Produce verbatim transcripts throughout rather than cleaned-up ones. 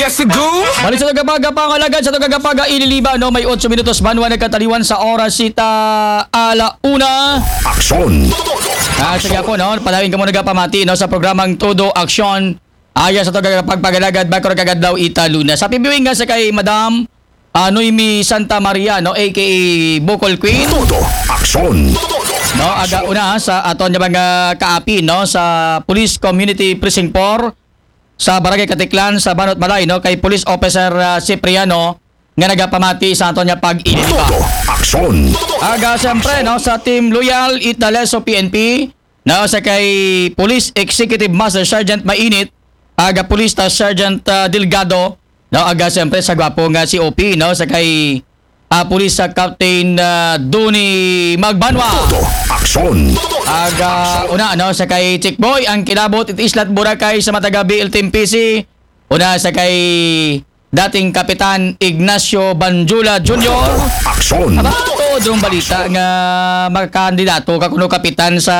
Yes, go! Balik sa tagapagpangalagad, sa tagapag-ililiba, no? May otso minutos banwa nagkataliwan sa oras sita ala una. Aksyon. Ah, sige po, no? Padawin ka muna nagapamati, no? Sa programang Todo Aksyon. Aya sa tagapagpagalagad, bakro kagadlaw ita luna. Sa pibiwing nga sa kay Madam ah, Noemi Santa Maria, no? A K A Bukol Queen. Todo. Aksyon. No, aga una sa aton nga mga kaapi, no, sa Police Community Precinct four sa Barangay Katiklan sa Banot Malay, no, kay Police Officer ah, Cipriano nga nagapamati sa aton nga pag-iniliba. Todo. Aksyon. Aga siyempre, no, sa Team Loyal Italeso P N P, no, sa kay Police Executive Master Sergeant Mainit, aga Police Staff Sergeant ah, Delgado, no, aga siyempre sa gwapo nga C O P, no, sa kay ah, Police ah, Captain ah, Duni Magbanwa. Todo. Aksyon. Aga una, no, sa kay Chick Boy, ang kilabot it Islat Boracay sa Matagabi, L T M P C. Una sa kay dating Kapitan Ignacio Banjula Junior. Aksyon. Aba, tuod rong balita nga makakandidato ka kuno kapitan sa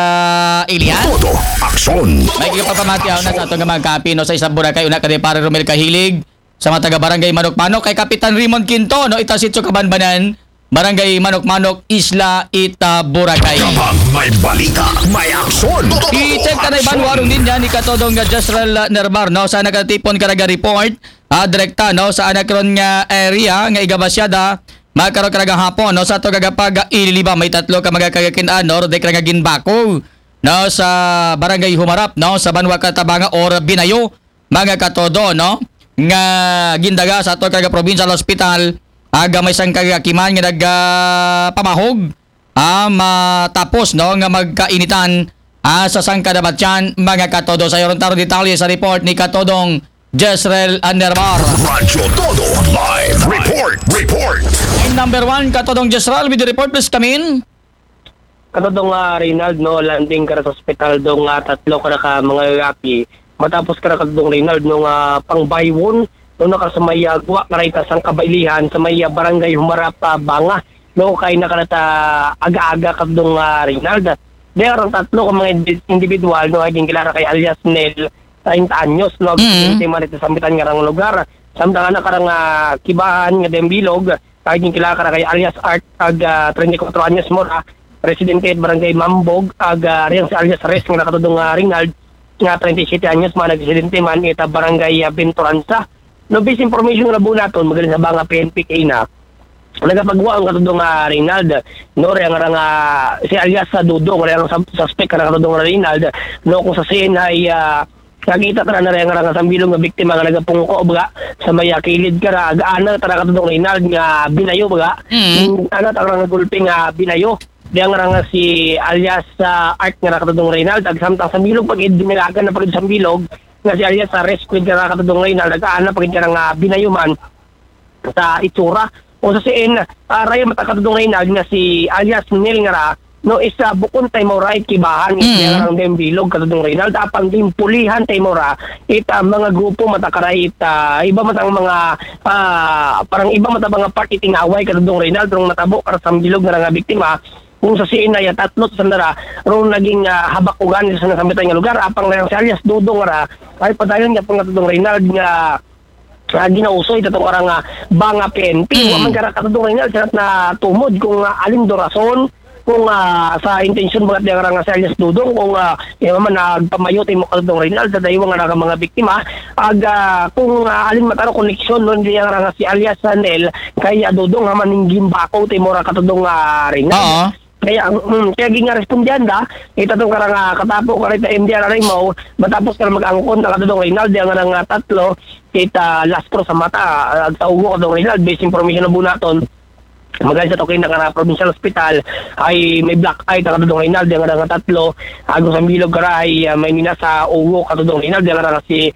Ilian. Todo. Aksyon. May gigapapamatiaw na sa ato nga mga kapi, no, sa isang Boracay, una ka ni Pare Romel Kahilig, sa mga taga Barangay Manok-Manok, kay Kapitan Raymond Quinto, no, ita Sitio Kabanbanan, Barangay Manok-Manok, Isla Ita, Boracay. Kapag may balita, may aksyon. I-check ka na iban warong din yan, ikatodong nga Jezreel Nerbar, no? Sa nakatipon ka naga-report, ah, direkta, no? Sa anak ron nga area, nga igabasyada, magkaroon ka nagahapon, no? Sa to gagapag ililiba, may tatlo ka magakayakin, ah, no? Rodek nga ginbako, no? Sa barangay Humarap, no? Sa Banwa Katabanga or Binayo, mga katodo, no? Nga gindaga sa to kaga provincial hospital, aga may isang kagakiman nga nagpamahog, ah, matapos, no, nga magkainitan ah, sa sangkadabatyan, mga katodo. Sa iyon taro detalye sa report ni Katodong Jezreel Andermar. Radyo Todo Live Report. Report. Number one, Katodong Jezreel, with the report, please come in. Katodong uh, Reynald, no, landing ka sa ospital dong uh, tatlo ka ka mga lalaki. Matapos ka katodong Reynald, no, nga pangbaywon, no, nakasamayagwa ka rayta sang kabailihan sa may ah, barangay Humarap, ah, Banga. No, kay nakarata aga-aga katodong uh, Reynald. There ang tatlo ka mga indi- individual, no, ay ginkilala kay alias Nel, treinta anyos, no, Mm. mm. man ito sambitan nga rang lugar. Samtang anak karang uh, kibahan nga dayang bilog, ay ginkilala ka kay alias Art, ag uh, treinta y cuatro anyos mo ra, residente at barangay Mambog, ag uh, riyang si alias Res nga nakatudong uh, Reynald, nga treinta y siete anyos man, nagresidente man ita barangay uh, Venturanza. No, base information nga nabuo naton, magaling sa Banga P N P kaina, nagapagwa ang katudong uh, Reynald, no, riyang rang uh, si alias sa Dudong, riyang sa suspect ka nakatudong Reynald, no, kung sa scene ay uh, nakita ka na riyang rang sambilong nga biktima nga nagapungko baga sa may uh, kilid ka ra, aga ana ta nakatudong Reynald nga binayo baga. Mm. Ana ta rang gulpi nga binayo. Diyang rang si alias uh, Art nga nakatudong Reynald, ag samtang sambilog pag-id, dinagan na pag-id sambilog, nga si alias sa rescue nga nakatudong Reynald, aga ana pag-id ka nga binayo man sa itsura. O sa siin, uh, raya matakatudong Reynald nga si alias Nel nga ra, no, isa bukon tay mo ra it kibahan, Mm. it nga rang dayang bilog katudong Reynald, apang ginpulihan tay mo ra, it uh, mga grupo matakaray, it uh, iba matang mga, ah, parang iba matang mga part iting away katudong Reynald, rong natabo kara sambilog nga nga biktima, kung sa siin ay tatlo sa nara, rong naging uh, habakugan sa nasambitan nga lugar, apang lang si alias Dudong ra, ay padayon nga pang katudong Reynald nga ah, ginausoy tatong karang ah, Banga P N P. Mm. Wa man kara katudong Reynald, sa na tumod kung ah, alin do rason, kung ah, sa intensyon mga diya karang sa alias Dudong, kung ah, yung man nagpamayo tayo mo katudong Reynald, sa daywa nga nga mga biktima, ag ah, kung ah, alin mataro koneksyon, no, diya karang si alias ah, Nel, kay ah, Dudong, nga man yung gimbako tayo mo ra katudong ah, Reynald. Oo. Kaya, mm, kaya ginga respondianda, ita tong karang ah, katapo ka rin sa M D R Arimaw, matapos ka mag-angkon, nakatudong Reynald, yung nga nga tatlo, kita last pro sa mata, ah, sa ugo katong Reynald, base information na bunaton. Magal sa tokin na karang provincial hospital, ay may black eye, nakatudong Reynald, yung nga nga tatlo, agos ang bilog karay, ah, may mina sa ugo, katudong Reynald, yung nga nga si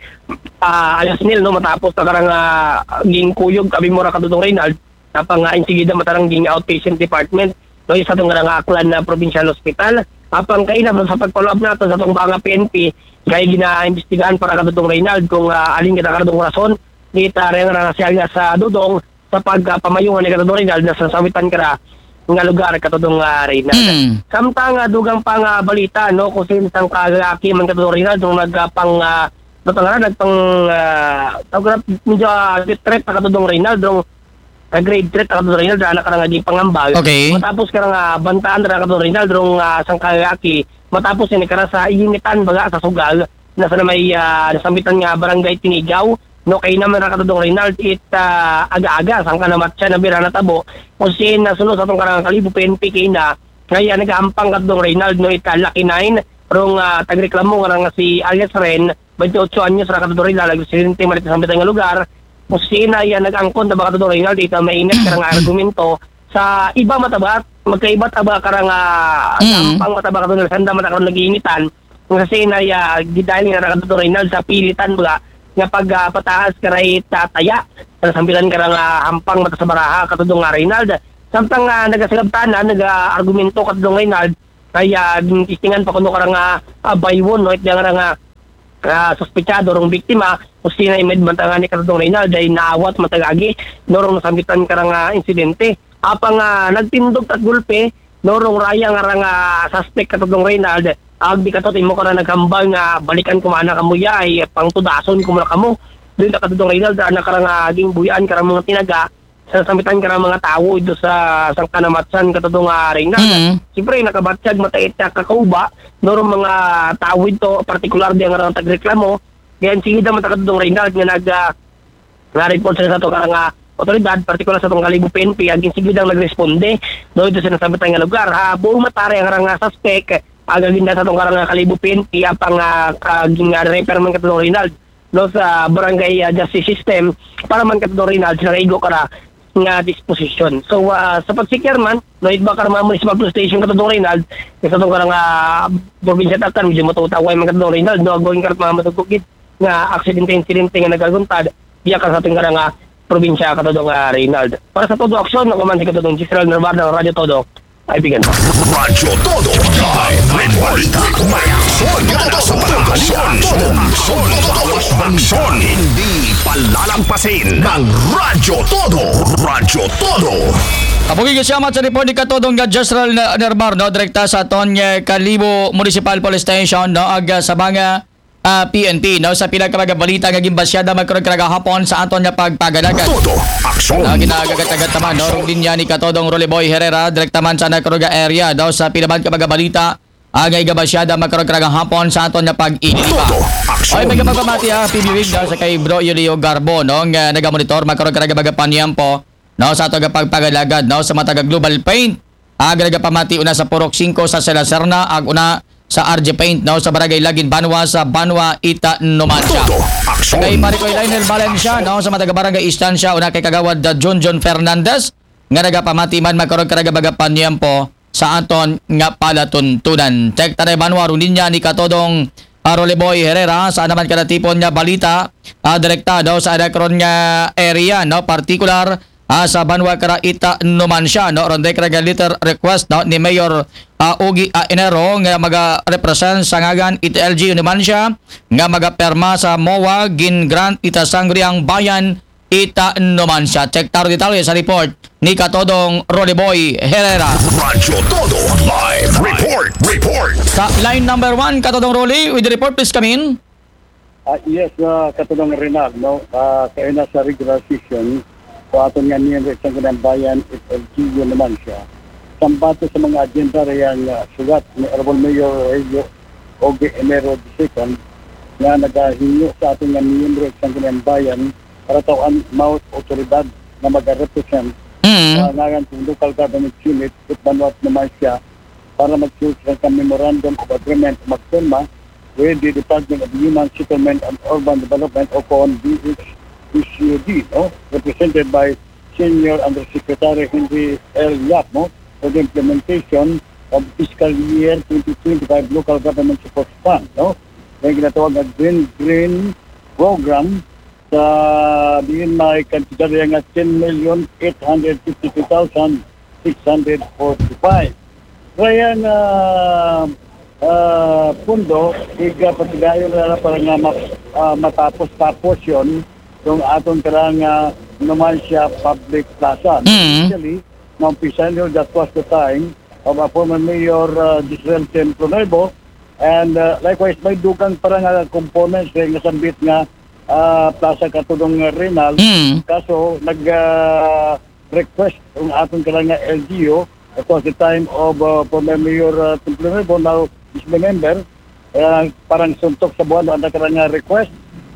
ah, alias Nel, no, matapos na karang ah, ging kuyog, abi mo ra katudong Reynald, napang uh, insigida matarang ging outpatient department, no, sa itong nga aklan na provincial hospital. Apang kaina sa pag-follow up nato sa itong Banga P N P, kay ginaimbestigahan para katudong Reynald kung ah, alin kita katudong rason, di ta rin nga siya nga sa Dudong sa pagpamayungan ni katudong Reynald na sa sawitan kara nga lugar katudong ah, Reynald. Mm. Samtang ah, dugang pa nga balita, no, kung sino sang kalalaki man katudong Reynald, nung nagpang ah, Dato nga nagpang, ah, tawag na, medyo, ah, threat na kato dong Reynald, dong, ah, grave threat na kato dong Reynald, na anak ka nga di pangambag. Okay. Matapos ka nga bantaan na kato dong Reynald, dong, ah, sangka lalaki, matapos ini kara sa initan baga sa sugal, na sa may, ah, nasambitan nga barangay Tinigaw, no, kay naman na kato dong Reynald, it, ah, aga-aga, sangka namatsa na bira na tabo, kung sin nasulo sa atong karang Kalibo P N P kay na, kaya nagahampang kato dong Reynald, no, it, ah, Lucky Nine, rong, ah, tagreklamo nga nga si alias Ren, twenty-eight anyos, ra kato dong Reynald, nagresidente man ito sa sambitan nga lugar, kung sina iya nag-angkon na ba kato dong Reynald, ito mainit karang argumento, sa iba matabat, magkaibat aba karang, ah, Mm. hampang matabat kato dong Reynald, sanda man karon nag-iinitan, kung sa sina iya, gidali na ra kato dong Reynald sa pilitan ba, nga pag, ah, pataas karay tataya, sa sambitan karang, ah, hampang mata sa baraha, kato dong, ah, Reynald, samtang, ah, nagasagabtanan, naga-argumento kato dong Reynald, kaya, ah, testingan pa kuno karang, ah, ah, baywon, no, it nga nga, ah, suspetsado rong biktima, kung sina imed man tanga ni kato dong Reynald, ay naawat matagagi, no, rong nasambitan karang, ah, insidente. Apang, ah, nagtindog tat gulpe, no, rong raya nga rang, ah, suspect kato dong Reynald, ag di kato timo karang naghambal nga balikan ko man na kamo ya, ay pangtudason ko man na kamo. Doon na kato dong Reynald, anak karang, ah, aging buyaan karang mga tinaga, sa sambitan karang mga tawo ito sa sangka namatsan kato dong, ah, Reynald. Mm. Siyempre, nakabatyag matait na kakauba, no, rong mga tawo ito, partikular di nga rang tagreklamo, kaya sige daw mata kato dong Reynald nga nag, ah, nga report sa sa atong karang, ah, otoridad, partikular sa atong Kalibo P N P, aging sige daw nagresponde, no, ito sa nasambitan nga lugar. Ha, buong matari ang karang, ah, suspect, agaginda sa atong karang, ah, Kalibo P N P, apang, ah, aging, ah, refer man kato dong Reynald, no, sa barangay, ah, justice system, para man kato dong Reynald, sa naigo kara nga disposition. So, ah, sa pagsikir man, no, it ba karang mga municipal police station kato dong Reynald, sa atong karang, ah, probinsya Tacna, medyo matutaway man kato dong Reynald, no, agwang karat mga matugkugit, nga aksidente-insidente nga nagaguntad, diya ka sa ating karang, ah, probinsya kato dong, ah, Reynald. Para sa Todo Aksyon, ako man si kato dong Giselle Narbar ng Radyo Todo, ay bigan. Radyo Todo, live red balita, may aksyon, gana sa pagkakasyon, aksyon, aksyon, aksyon, hindi palalampasin ng Radyo Todo, Radyo Todo. Kabuhi ka siya, mat sa report ni Katodong nga Jesrel na Nermar, no, direkta sa aton nga Kalibo Municipal Police Station, no, ag, ah, sa mga, ah, P N P, no, sa pila ka mga balita nga ginbasyada magkaroon karang gahapon sa aton nga pagpagalagad. Todo aksyon. Na ginagagatagat naman, no, rong linya ni Katodong Rolly Boy Herrera, direkta man sa Nakaruga area, no, sa pila man ka mga balita, ah, nga igabasyada magkaroon karang gahapon sa aton nga pag-iniba. Todo aksyon. Ay, may kapagpamati, ah, P B Wig, no, sa kay Bro Yulio Garbo, no, nga nagamonitor magkaroon karang mga panyempo, no, sa ato nga pagpagalagad, no, sa mataga Global Paint. Ag nagapamati una sa Purok singko sa Sela Serna, ag una sa R J Paint, no, sa Barangay Lagin Banwa, sa Banwa, Ita, Numancia. Todo aksyon. Kay Marikoy Lionel Valencia, no, sa mataga Barangay Estancia, una kay Kagawad, uh, Junjun Fernandez, nga nagapamati man magkaroon karang mga panyempo sa aton nga palatuntunan. Check tanay Banwa, rong linya ni Katodong, uh, Rolly Boy Herrera, sa naman karatipon nga balita, uh, direkta, no, sa anak ron nga area, no, partikular, ah, sa Banwa kara Ita, Numancia, no? Ronde kara nga letter request, no, ni Mayor, ah, Ogie, ah, Enero nga maga-represent sa ngagan it L G U Numancia nga magapirma sa MOA gin-grant ita Sangguniang Bayan Ita, Numancia. Check taro detalye sa report ni Katodong Rolly Boy Herrera. Radyo Todo live report, report. Sa line number one, Katodong Rolly, with the report, please come in. Ah, yes, ah, Katodong Renal, no? Ah, kaina sa regular session, so aton nga miyembro sa Sangguniang Bayan, it L G U Numancia. Sambato sa mga agenda rayang, ah, sugat ni Honorable Mayor Rogelio Ogie Enero the second, nga nagahinyo sa aton nga miyembro sa Sangguniang Bayan para taw-an mao't otoridad nga maga-represent Mm. sa ngaran sa local government unit, it Banwa, Numancia, para mag-sign sa Memorandum of Agreement, magpirma with the Department of Human Settlement and Urban Development o kon D H S U D, no? Represented by Senior Undersecretary Henry L Yap, no? For the implementation of fiscal year twenty twenty-five Local Government Support Fund, no? Yung ginatawag na Green Green Program, sa diin may kantidad nga ten million eight hundred fifty-two thousand six hundred forty-five. Kaya nga, ah, pundo, iga patigayon na para nga ma-, ah, matapos-tapos yon, yung aton karang, ah, Numancia Public Plaza. Mm. Actually, naumpisan yun, that was the time of, ah, former Mayor, ah, Giselle Templo Nuevo, And uh, likewise, may dugang para nga components eh, nga sambit nga uh, plaza katudong Rinal. Mm. Kaso nag uh, request ang aton ka nga L G U, of course, the time of uh, former Mayor uh, Templo Nuevo, now is the member, uh, parang suntok sa buwan ang ka nga request.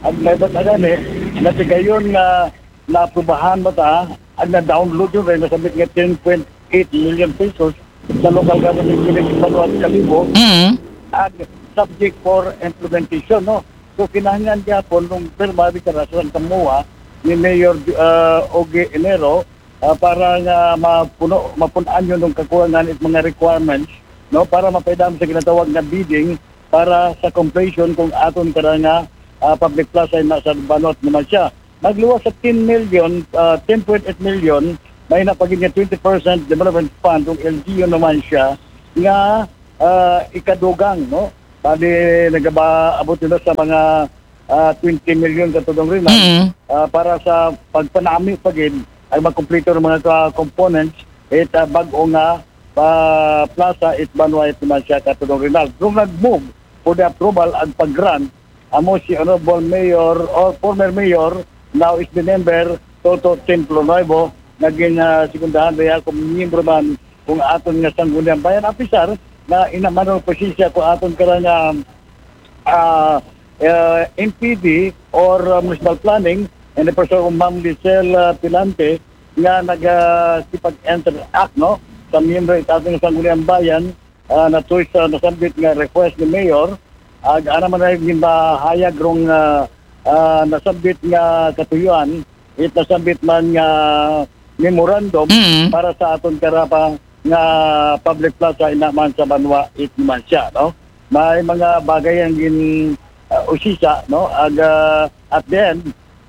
Ang may ba't agani, natigayon nga naaprubahan ba ta, ang na-download yun, kaya nasabit nga ten point eight million pesos sa local government unit sa Banwa at Kalibo, Mm. At subject for implementation, no? So, kinahanglan niya po nung pirma di ka sa Kamuha ni Mayor uh, Ogie Enero uh, para nga mapuno, mapunan yun ng kakulangan at mga requirements, no? Para mapaidam sa ginatawag na bidding para sa completion kung aton ka nga uh, public plaza na sa Banwa naman siya. Nagluwas sa ten million, uh, ten point eight million, may napagin niya twenty percent development fund kung L G U naman siya nga uh, ikadugang, no? Bali, nagaba-, abot nila sa mga uh, twenty million katulong rin, Mm. uh, para sa pagpanami pagin ay makumpleto ng mga ka- components it uh, bag-o nga uh, plaza it Banwa it naman siya katulong Rinal. Kung nag-move for the approval ang pag-grant, amo si Honorable Mayor or former Mayor, now is the member, Toto Templo Nuevo, naging uh, sekundahan niya kung miyembro man kung aton nga sangguniang bayan. Apisar na inamanong posisya ko aton ka nga uh, uh, M P D or uh, municipal planning and the person of Ma'am Lisel uh, Pilante nga nagkipag-interact, no, sa miyembro ng ating sangguniang bayan uh, na tuwi sa nasambit nga request ni Mayor. Ag ana man ay gindahayag rong uh, uh, nasambit nga katuyuan, it nasambit man nga memorandum Mm. para sa aton karapa nga public plaza ina man sa Banwa it man siya, no? May mga bagay ang gin uh, usisa, no? Ag uh, at the end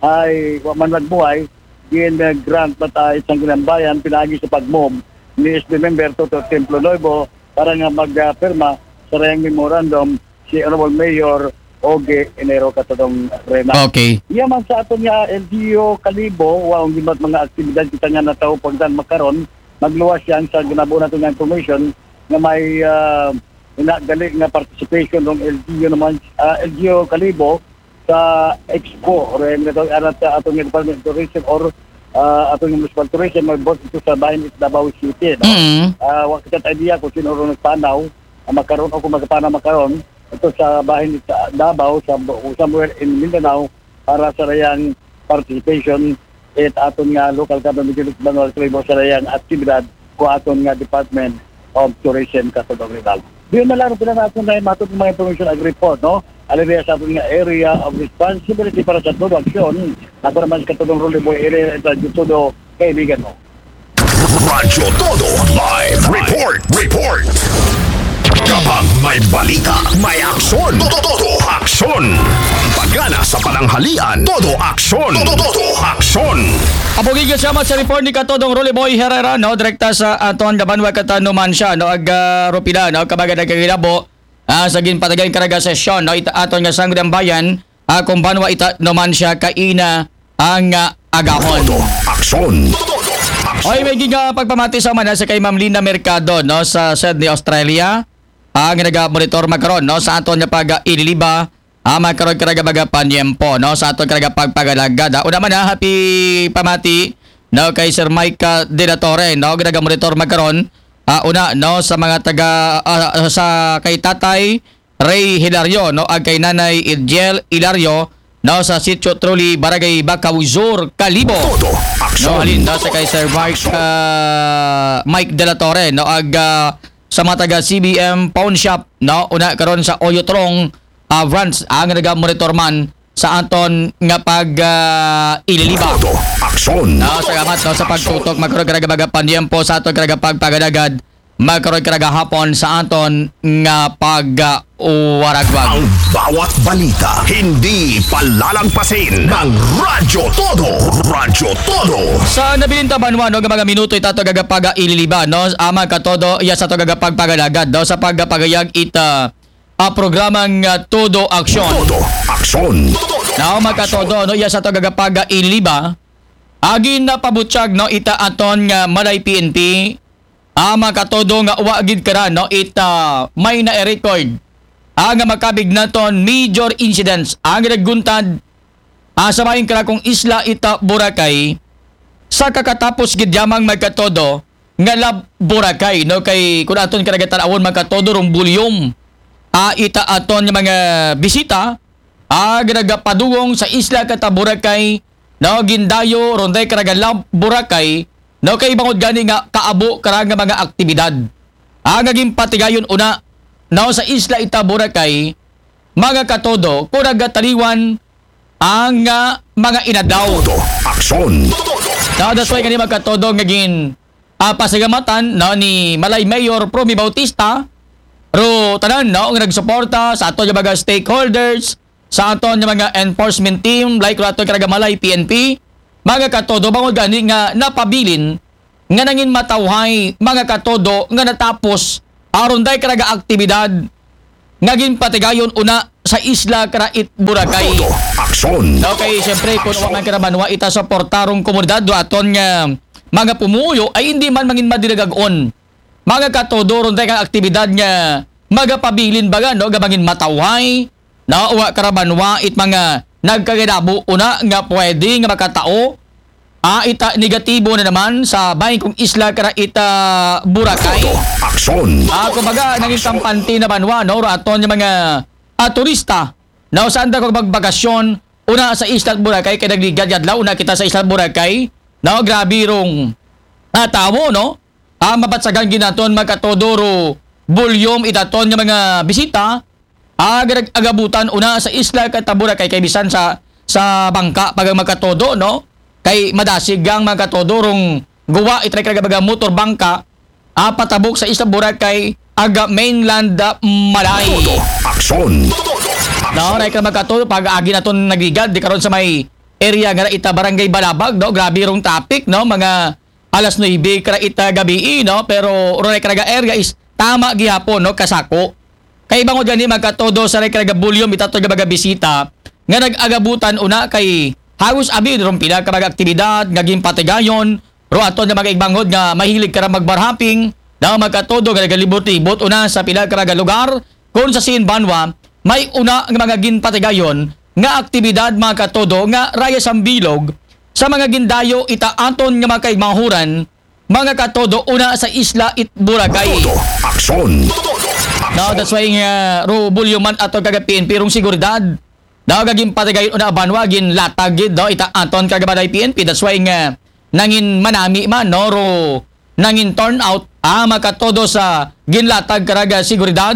ay wa man nagbuhay, gin uh, grant pa tayo sa ginambayan pinagi sa pag-move ni S B member Toto Templo Nuevo para nga magpirma sa rayang memorandum si Honorable Mayor Ogie Enero katong Rena. Okay. Iya man sa aton nga L G U Kalibo, wa ang gimat mga aktibidad kita nga nataw pagdan makaron, magluwas siya sa ginabo nato nga information nga may uh, ina gali nga participation ng L G U naman, uh, L G U Kalibo sa Expo or yung nito arat sa atong Department of Tourism or uh, atong Municipal Tourism may boss ito sa Bahin it Davao City, no? Mm. Uh, wa kita idea kung sino ron nagpanaw, uh, makaron o kung magpanaw makaron ito sa Bahin it Davao sa somewhere in Mindanao para sa rayang participation it aton nga local government unit Banwal Tribo sa rayang aktibidad ko aton nga Department of Tourism katulong Rizal. Diyon na lang pila na aton na matod mga information ag report, no? Alibya sa aton nga area of responsibility para sa todo aksyon. Ako naman katulong Rolly Boy area sa todo kaibigan mo. Radyo Todo Live Report. Report. Kapag may balita, may aksyon. Todo, todo aksyon. Pagana sa pananghalian, todo aksyon. Todo, todo aksyon. Apugig ka siya sa report ni Katodong Rolly Boy Herrera, no? Direkta sa aton Dabanwa Katanuman siya, no? Ag uh, Rupila, no? Kabaga nagkagilabo uh, sa ginpatagan karaga sesyon, no? Ita aton nga sangguniang bayan, uh, kung banwa ita naman siya kaina ang uh, agahon. Todo aksyon. Oy, may giga pagpamati sa mana sa kay Ma'am Linda Mercado, no, sa Sydney, Australia. Ang naga-monitor makaron, no, sa aton nga pag-ililiba. Ah, makaron ka naga magapanyempo, no, sa aton ka naga pagpagalagad. Ah, una man, ha, happy pamati, no, kay Sir Mike uh, De La Torre, no, naga-monitor makaron. Ah, una, no, sa mga taga, uh, sa kay Tatay Ray Hilario, no, ag kay Nanay Idjel Hilario, no, sa Sitio Truli, Barangay Bacau Sur, Kalibo. Todo aksyon. No, halin, no, sa kay Sir Mark, uh, Mike De La Torre, no, ag uh, sa mga taga C B M Pawn Shop, no, una karon sa Oyotrong uh, branch ang naga-monitor man sa aton nga pag uh, ililiba. Todo aksyon. No, salamat, no, sa pagtutok, magkaroon ka nagabagapanyempo sa aton karagapagpagadagad. Magkaroon ka gahapon sa aton nga pag-uwaragwag. Ang bawat balita, hindi palalagpasin ng Radyo Todo. Radyo Todo. Sa nabilin ta banwa, no, nga mga minuto itato gagapaga ililiba, no, ama ka todo, iya sa to gagapagpagalagad, no, sa pagapagayag ita a programang uh, Todo Aksyon. Todo Aksyon. Now, mga katodo, no, iya sa to gagapag ililiba, agin na pabutyag, no, ita aton nga Malay P N P, ah, mga katodo nga wa gid kara, no, ita may na-record ah, nga makabig naton major incidents, ah, nga nagguntad, ah, sa maayong karakong isla ita Boracay, sa kakatapos gid yamang, mga katodo, nga Love Boracay, no? Kay kung aton karagatan awon, mga katodo, rong bulyom, ah, ita aton nga mga bisita, ah, nga nagapadulong sa isla kata Boracay, no, gindayo ron day karaga Love Boracay, no, kay bangod gani nga kaabo kara nga mga aktibidad, ah, nga ginpatigayon una, no, sa isla ita Boracay, mga katodo, kung nagataliwan ang, ah, mga inadlaw. Todo aksyon. No, that's why gani, mga katodo, nga gin, ah, pasalamatan, no, ni Malay Mayor Promy Bautista, ro tanan, no, nga nagsuporta sa ato nga mga stakeholders, sa aton nga mga enforcement team, like ro ato karaga Malay P N P, mga katodo, bangod gani nga napabilin nga nangin matawhay, mga katodo, nga natapos aron day karaga aktibidad nga ginpatigayon una sa isla kara it Boracay. Todo aksyon. Okay, siyempre, kung wa man kara banwa ita suportarong komunidad do aton nga mga pumuyo, ay hindi man mangin madinagag-on, mga katodo, ron day kang aktibidad nga magapabilin baga, no, nga mangin matawhay, no, wa kara banwa it mga nagkagadabo una nga pwede nga makatao, ah, ita negatibo na naman sa bangkong isla kara ita Boracay. Todo aksyon. Ah, kumbaga, nangin kampante na banwa, no, ro aton nga mga, ah, turista, no, saan da kung magbakasyon una sa isla Boracay, kay nagligad yadlaw una kita sa isla Boracay, no, grabe rong, ah, tawo, no, ah, mabatsagan ginaton, mga katodo, ro bulyom itaton nga mga bisita, ah, nga nag-agabutan una sa isla kata Boracay, kay bisan sa, sa bangka pa, mga katodo, no? Kay madasig ang, mga katodo, rong guwa, itray karaga baga motor bangka, ah, patabok sa isla Boracay, aga mainland, ah, Malay. Todo aksyon. No, ray ka, mga katodo, pag-agi naton nagligad, di karon sa may area nga ita Barangay Balabag, no? Grabe rong traffic, no? Mga alas nuebe kara ita gabii, no? Pero ro ray karaga area is tama gihapon, no? Kasako. Kay bangod gani, mga katodo, sa ray karaga bulyom itaton nga mga bisita nga nag-agabutan una, kay halos abi ron pila ka mga aktibidad nga ginpatigayon ro aton nga mga igbangod nga mahilig kara magbar hopping, na, mga katodo, nga nagalibot-libot una sa pila karaga lugar, kung sa sin banwa may una nga mga ginpatigayon nga aktibidad, mga katodo, nga raya sambilog sa mga gindayo ita aton nga mga kaigmahuran, mga katodo, una sa isla it Boracay. Todo aksyon. No, that's why nga ro bulyom man aton karaga P N P rong seguridad, no, nga ginpatigayon una banwa, ginlatag gid, no, ita aton karaga Malay P N P. That's why nga nangin manami man, no, ro nangin turnout, ah, mga katodo, sa ginlatag karaga seguridad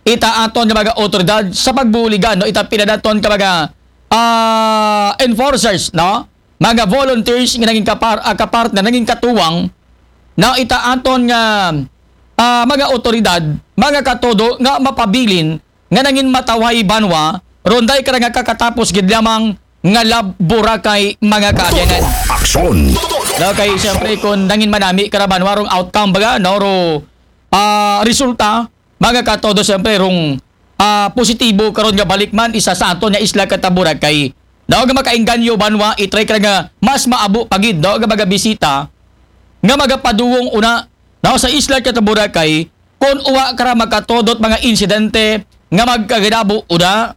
ita aton nga mga otoridad sa pagbuligan, no, ita pila naton ka mga, ah, enforcers, no, mga volunteers nga nangin kapar-, ah, kapartner, nangin katuwang, no, ita aton nga, ah, mga otoridad, mga katodo, nga mapabilin nga nangin matawhay banwa ron day kara nga kakatapos gid lamang nga Love Boracay, mga kaabyanan. Aksyon. No, kay siyempre, kung nangin manami kara banwa rong outcome baga, no, ro, ah, resulta, mga katodo, siyempre, rong, ah, positibo karon nga balik man isa sa aton nga isla kata Boracay, no, nga makaengganyo banwa, itray kara nga mas maabo pa gid, no, nga mga bisita nga magapadulong una, no, sa isla kata Boracay, kung wa kara, mga katodo, mga insidente nga magkagadabo una,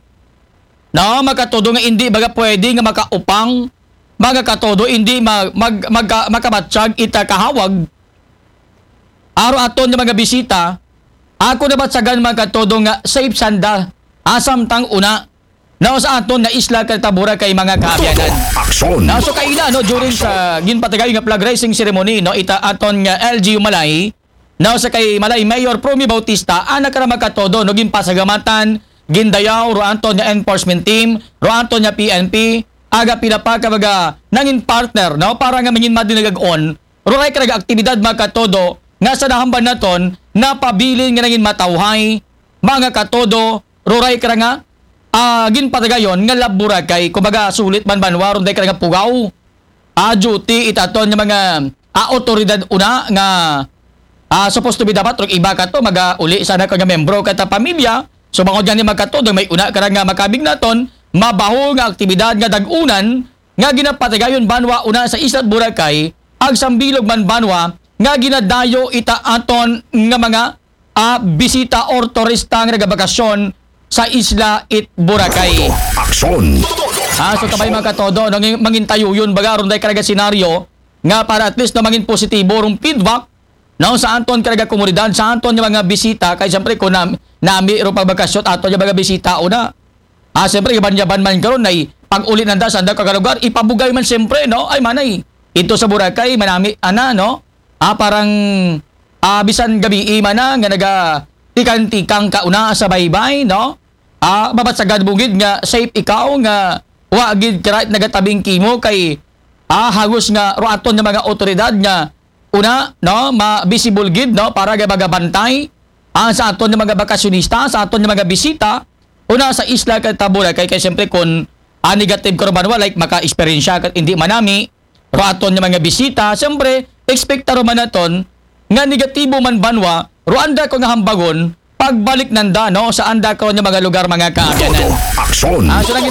no, mga katodo, nga hindi baga pwede nga makaupang, mga katodo, hindi mag-, mag-, magka-, makabatsyag ita kahawag aro aton nga mga bisita. Ako nabatsagan, mga katodo, nga safe sanda, ah, samtang una, no, sa aton nga isla kata Boracay, mga kaabyanan. Todo aksyon. Na, so kaina, no, during sa ginpatigayon nga flag raising ceremony, no, ita aton nga L G U Malay, no, sa kay Malay Mayor Promy Bautista, ana kara, mga katodo, no, ginpasalamatan, gindayaw ro aton nga enforcement team, ro aton nga P N P, aga pila pa ka mga nangin partner, no, para nga mangin madinagag-on ro ray karaga aktibidad, mga katodo, nga sa nahamban naton, napabilin nga nangin matawhay, mga katodo, ro ray kara nga, ah, ginpatigayon nga Love Boracay, kumbaga, sulit man banwa ron day kara nga pugaw, ah, duty ita aton nga mga, ah, otoridad una nga, ah, supposed to be dapat rong iba kato, magauli sana ka nga membro kata pamilya. So, bangod gani, mga katodo, may una kara nga makabig naton, mabaho nga aktibidad nga dag-unan nga ginapatigayon banwa una sa isla Boracay, agsambilog man banwa nga ginadayo ita aton nga mga, ah, bisita or turista nga nagabakasyon sa isla it Boracay. Aksyon! Ah, so kabay mga katodo, no, ngin- mangin tayo yun, baga, aron dahil karaga senaryo, nga para at least na mangin positibo rong feedback, no, sa aton karaga komunidad, sa aton nga mga bisita, kay siyempre kung nam, nami ro pagbakasyon, aton nga mga bisita, una. Ah, siyempre, iban-yaban man karon ay pag-uli nanda sa anda karaga lugar, ipabugay man siyempre, no? Ay, manay, ito sa Boracay, manami, ana, no? Ah, parang, ah, bisan gabi, mana, nga naga tikang-tikang kauna sa baybay, no? Ah, mabatsagad bugid nga safe ikaw nga wa gid karait nagatabing kimo kay, ah, hagos nga ruaton nga mga otoridad nga una, no, ma-visible gid, no, para ga magabantay, ah, sa aton nga mga bakasyonista, sa aton nga mga bisita, una sa isla kay Boracay kay siyempre kung, ah, negative ka ro banwa, like maka-experience ka, hindi manami, ruaton nga mga bisita, siyempre, expect ta ro man naton nga negatibo man banwa, ro anda ko nga hambagon, pagbalik nanda, no, sa anda ko nga mga lugar, mga kaabyanan. Aksyon! Ah, so, naging